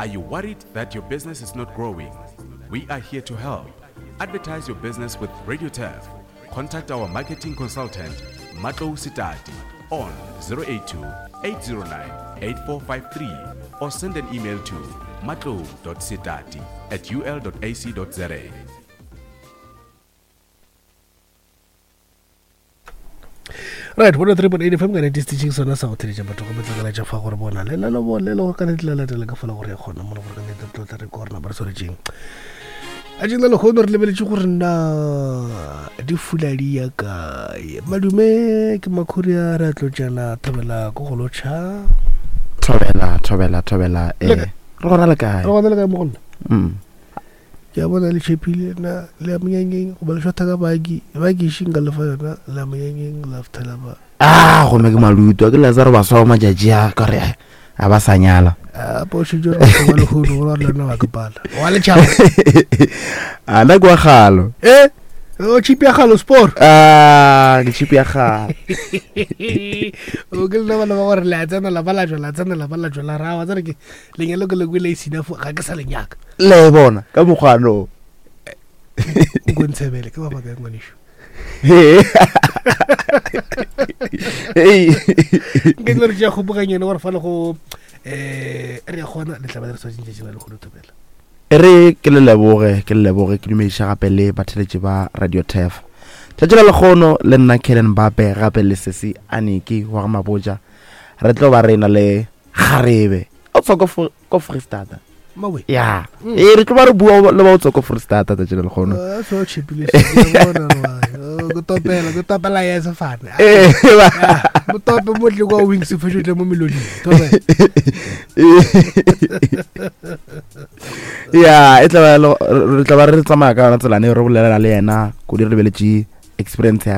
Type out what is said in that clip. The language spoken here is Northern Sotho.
Are you worried that your business is not growing? We are here to help. Advertise your business with Radio Turf. Contact our marketing consultant, Matlou Sitati, on 082 809 8453 or send an email to matlou.sitati at ul.ac.za. Right, 103.8 FM ka nete stitching sona sa go theletša batho go metlakala tša fa gore bona le lalo bo le le ka nete la latela ka fola gore ya kgona mo gore ka nete tlo tla re korna ba re swaretseng a jena le kgono re lebeletše gore na di fula di ya kae madume ke makhuria re a tlotšana thobela ko go lotšha thobela thobela thobela eh re gona le kae re gona le kae mo go nna mm. Ke a bona le tšhepile na le ya monyanyeng goba le šwatha ka baki baki e šeng ka lefa yona le ya monyanyeng la futhela ba a gomme ke maluto ke lazaro baswa ba matšatši a ka re a ba sa nyala a po šetše re ba lehono gore le nna ba ke pala wa letšhaba a nna ke wa galo e o chipi ya galo sport a ke chipi ya galo o ke lena bana ba gore le a tsena la ba la jwa la tsena la ba la jwa la rawa tsere ke lenyalo ke le kwele e sina fo ga ke sa lenyaka le e bona ka mokgwano nko ntshebele ke ba bakae ngwaneso nke le re tšea kgopoganyene gore fa le go um re ya gona le tla ba le re tshwanetseng tšatši la lekgono thobela e re ke le leboge ke le leboge ke dumediša gape le batheletši ba radio tef tšatši la lekgono le nna kellen bape gape le sesi aniki wa ga mabotja re tlo ba re na le kgarebe o tswa ko freestata mawe ya mm. ee re tlo ba re bua le ba o tswa ko freestata tsatsi le lekgono ah, so chipile go topela go topela ya sefane eh, mo tope mo tle kwa wings fashion tle mo melodi topela ya e tla ba re tla ba re tsamaya ka yona tselane re bolela le yena ko di re lebeletše experience ya